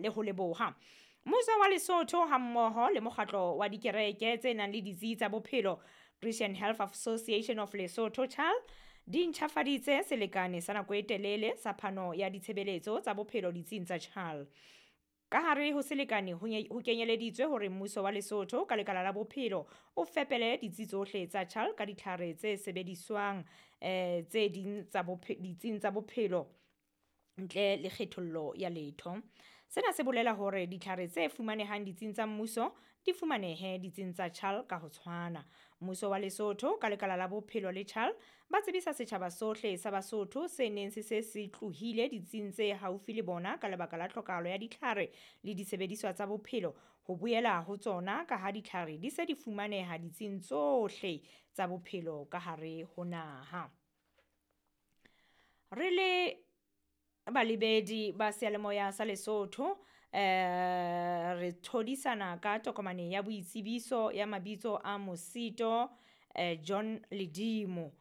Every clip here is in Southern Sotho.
le ho leboha. Mmuso wa Lesotho hammoho le mokgatlo wa dikereke tse nang le ditsi tsa bophelo Christian Health Association of Lesotho CHAL di ntjhafaditse selekane sa nako e telele sa phano ya ditshebeletso tsa bophelo ditsing tsa CHAL. Ka hare ho selekane ho kenyeleditswe hore mmuso wa Lesotho ka lekala la bophelo o fepele ditsi tsohle tsa CHAL ka ditlhare tse sebediswang tse ding tsa ditsing tsa bophelo ntle le kgethollo ya letho. Sena se bolela hore ditlhare tse fumanehang ditsing tsa mmuso di fumanehe ditsing tsa CHAL ka ho tshwana. Mmuso wa Lesotho ka lekala la bophelo le CHAL ba tsebisa setjhaba sohle sa Basotho se neng se se se tlohile ditsing tse haufi le bona ka lebaka la tlhokahalo ya ditlhare le disebediswa tsa bophelo ho boela ho tsona ka ha ditlhare di se di fumaneha ditsing tsohle tsa bophelo ka hare ho naha. Re le balebedi ba seyalemoya sa Lesotho re thodisana ka tokomane ya boitsebiso ya mabitso a Mosito John Ledimo.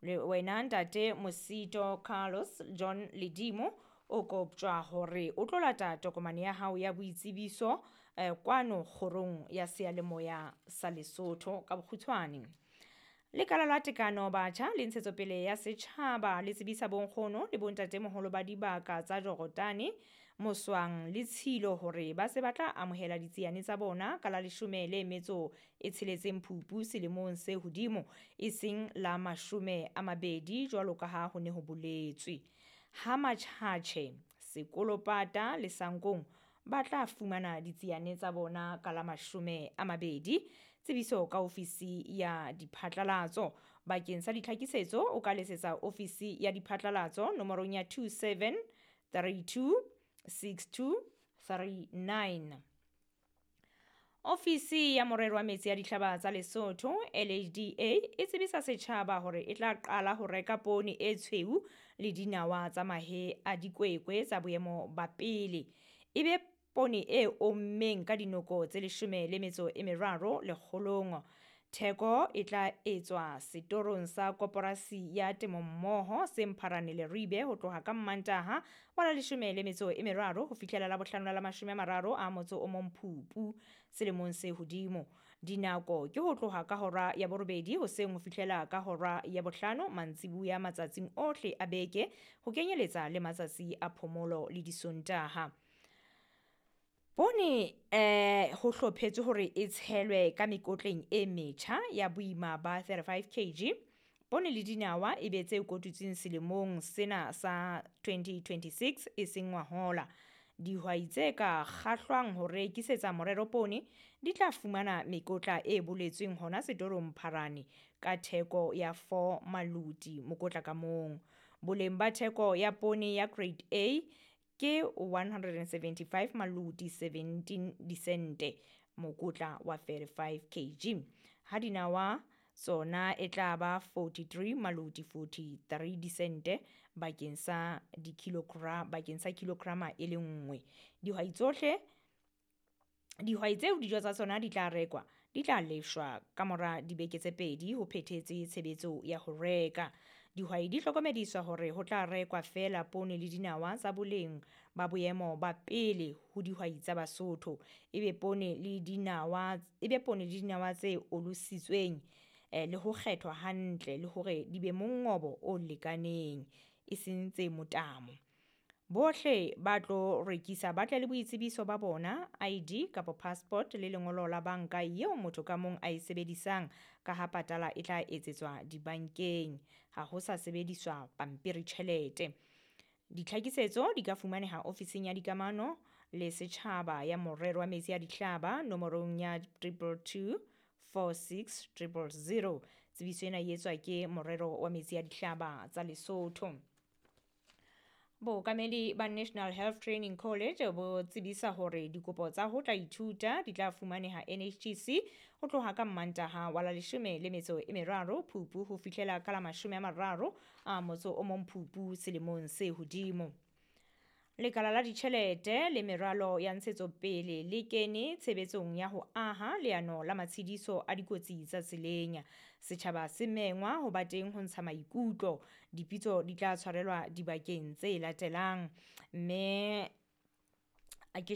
Le wena ntate Mosito Carlos John Ledimo o koptjwa hore o tlo lata tokomane ya hao ya boitsebiso kwano kgorong ya seyalemoya sa Lesotho ka bokgutshwane. Lekala la Tekano Batjha le Ntshetsopele ya Setjhaba le tsebisa bonkgono le bontatemoholo ba dibaka tsa Jorotane, Moswang le Tshilo hore ba se ba tla amohela ditsiane tsa bona ka la 16 Phupu selemong se hodimo, e seng la 20 jwalo ka ha ho ne ho boletswe. Ha Matjhatjhe, Sekolopata le Sankong ba tla fumana ditsiane tsa bona ka la 20. Tsebiso ka ofisi ya diphatlalatso. Bakeng sa ditlhakisetso o ka letsetsa ofisi ya diphatlalatso nomorong ya 27 32 62 39. Ofisi ya morero wa metsi a dihlaba tsa Lesotho LHDA e tsebisa setjhaba hore e tla qala ho reka poone e tshweu le dinawa tsa mahe a dikwekwe tsa boemo ba pele. Ebe poone e ommeng ka dinoko tse 13 lekgolong. Theko e tla etswa setorong sa koporasi ya temommoho se Mpharane Leribe ho tloha ka Mmantaha wa la 13 ho fihlela la bohlano la 31 Phupu selemong se hodimo. Dinako ke ho tloha ka hora ya 8 hoseng ho fihlela ka hora ya 5 mantsibuya matsatsing ohle a beke ho kenyeletsa le matsatsi a phomolo le disontaha. Poone ho hlophetswe hore e tshelwe ka mekotleng e metjha ya boima ba 35 kg. Poone le dinawa e be tse kotutsweng selemong sena sa 2026 e seng ngwahola. Dihwai tse ka kgahlwang ho rekisetsa morero poone di tla fumana mekotla e boletsweng hona setorong Mpharane ka theko ya 4 maluti mokotla ka mong. Boleng ba theko ya poone ya grade A ke 175 maluti 17 disente mokotla wa 35 kg. Ha dinawa tsona e tla ba 43 maluti 43 disente bakeng sa dikilogram bakeng sa kilograma e le nngwe. Dihwai tsohle dihwai tseo dijo tsa tsona di tla rekwa di tla lefshwa ka mora dibeke tse 2 ho phethetse tshebetso ya ho reka. Dihwai di hlokomediswa hore ho tla rekwa feela poone le dinawa tsa boleng ba boemo ba pele ho dihwai tsa Basotho. Ebe poone le dinawa tse olositsweng le ho kgethwa hantle le hore di be mongobo o lekaneng e seng tse motamo. Bohle ba tlo rekisa ba tle le boitsebiso ba bona, ID kapa passport le lengolo la banka eo motho ka mong a e sebedisang ka ha patala e tla etsetswa dibankeng. Ha ho sa sebediswa pampiri tjhelete. Ditlhakisetso di ka fumaneha ofising ya dikamano le setjhaba ya morero wa metsi a dihlaba nomorong ya 222 46 000. Tsebiso ena e etswa ke morero wa metsi a dihlaba tsa Lesotho. Bookamedi ba National Health Training College bo tsebisa hore dikopo tsa ho tla ithuta di tla fumaneha NHTC ho tloha ka Mmantaha wa la 13 Phupu ho fihlela ka la 31 Phupu selemong se hodimo. Lekala la ditjhelete le meralo ya ntshetsopele le kene tshebetsong ya ho aha leano la matshediso a dikotsi tsa tseleng. Setjhaba se mengwa ho ba teng ho ntsha maikutlo. Dipitso di tla tshwarelwa dibakeng tse latelang. Mme a ke